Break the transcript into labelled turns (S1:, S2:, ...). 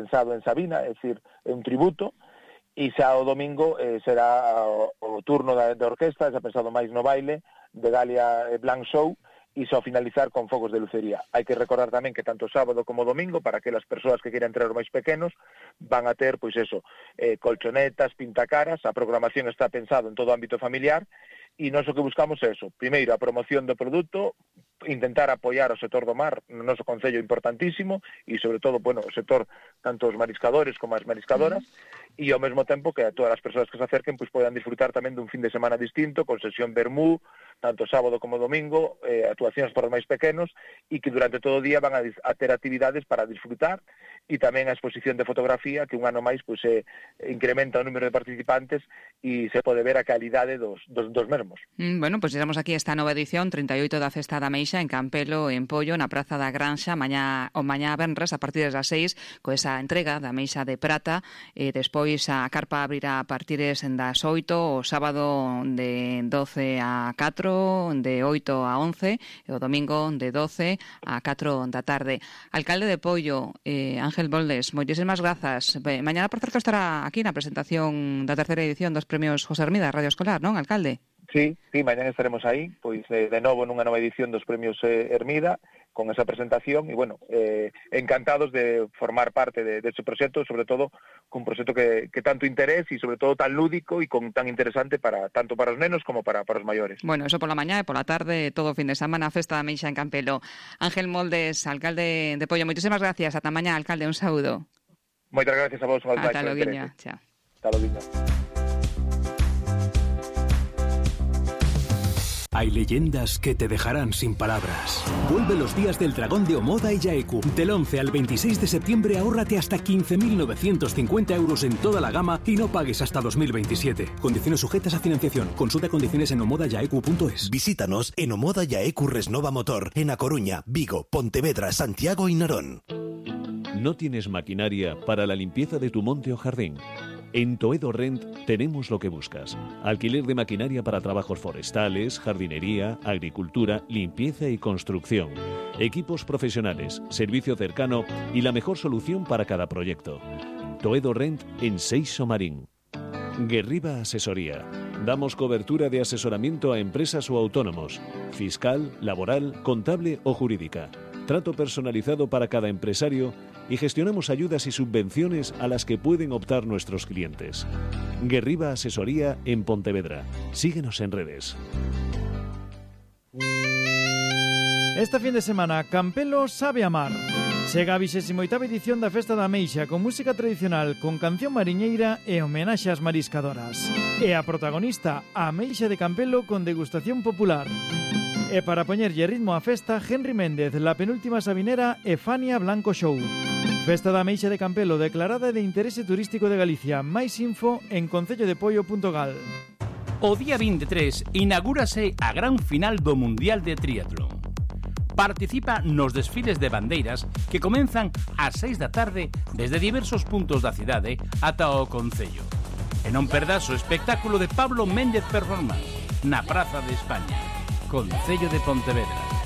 S1: pensado en Sabina, é dicir, é un tributo, e xa o domingo será o turno da orquesta, xa pensado máis no baile, de Galia Blanc Show, e só finalizar con fogos de lucería. Hai que recordar tamén que tanto sábado como domingo, para aquelas persoas que queiran entrar os máis pequenos, van a ter, pois eso, colchonetas, pintacaras, a programación está pensado en todo o ámbito familiar, e nós o que buscamos é eso, primeiro a promoción do produto, intentar apoiar o sector do mar, no noso concello importantísimo, e sobre todo, bueno, o sector, tanto os mariscadores como as mariscadoras, e ao mesmo tempo que a todas as persoas que se acerquen pois podan disfrutar tamén dun fin de semana distinto, con sesión vermú, tanto sábado como domingo, actuacións para os máis pequenos, e que durante todo o día van a ter actividades para disfrutar, e tamén a exposición de fotografía, que un ano máis pois incrementa o número de participantes e se pode ver a calidade dos mesmos.
S2: Bueno, pois estamos aquí esta nova edición, 38 da Festa da Meixa, en Campelo, en Pollo, na Praza da Granxa, mañá venres, a partir das 6, co esa entrega da Meixa de Prata, e despois a carpa abrirá a partir das 8, o sábado de 12 a 4, de 8 a 11, e o domingo de 12 a 4 da tarde. Alcalde de Pollo, Ángel Boldes, moitísimas grazas. Mañana, por certo, estará aquí na presentación da terceira edición dos premios José Hermida Radio Escolar, non, alcalde?
S1: Sí, mañana estaremos aí, pois de novo nunha nova edición dos premios Hermida, con esa presentación, e bueno, encantados de formar parte deste proxecto, sobre todo cun proxecto que tanto interés e sobre todo tan lúdico e con tan interesante tanto para os nenos como para os maiores.
S2: Bueno, eso pola mañá e pola tarde, todo o fin de semana, Festa da Meixa en Campelo. Ángel Moldes, alcalde de Pollo, moitísimas gracias. Ata mañá, alcalde, un saúdo.
S1: Moitas gracias a vos.
S2: Ata loguiña, chao.
S1: Ata loguiña.
S3: Hay leyendas que te dejarán sin palabras. Vuelve los días del Dragón de Omoda y Yaeku. Del 11 al 26 de septiembre ahórrate hasta 15.950 euros en toda la gama y no pagues hasta 2027. Condiciones sujetas a financiación. Consulta condiciones en omodayaeku.es.
S4: Visítanos en Omoda Yaeku Resnova Motor, en A Coruña, Vigo, Pontevedra, Santiago y Narón.
S5: ¿No tienes maquinaria para la limpieza de tu monte o jardín? En Toedo Rent tenemos lo que buscas. Alquiler de maquinaria para trabajos forestales, jardinería, agricultura, limpieza y construcción. Equipos profesionales, servicio cercano y la mejor solución para cada proyecto. Toedo Rent en Seixo Marín. Guerriba Asesoría. Damos cobertura de asesoramiento a empresas o autónomos. Fiscal, laboral, contable o jurídica. Trato personalizado para cada empresario y gestionamos ayudas y subvenciones a las que pueden optar nuestros clientes. Guerriba Asesoría en Pontevedra. Síguenos en redes.
S6: Este fin de semana, Campelo sabe amar. Chega a 28ª edición da Festa da Meixa con música tradicional, con canción mariñeira e homenaxe ás mariscadoras. E a protagonista, a Meixa de Campelo con degustación popular. E para poñerlle ritmo á festa, Henry Méndez, La Penúltima Sabinera e Fania Blanco Show. Festa da Meixa de Campelo declarada de interese turístico de Galicia. Máis info en concellodepoio.gal.
S7: O día 23 inaugúrase a gran final do Mundial de Triatlón. Participa nos desfiles de bandeiras que comenzan ás 6 da tarde desde diversos puntos da cidade ata o concello. E non perdas o espectáculo de Pablo Méndez Performance na Praza de España, Concello de Pontevedra.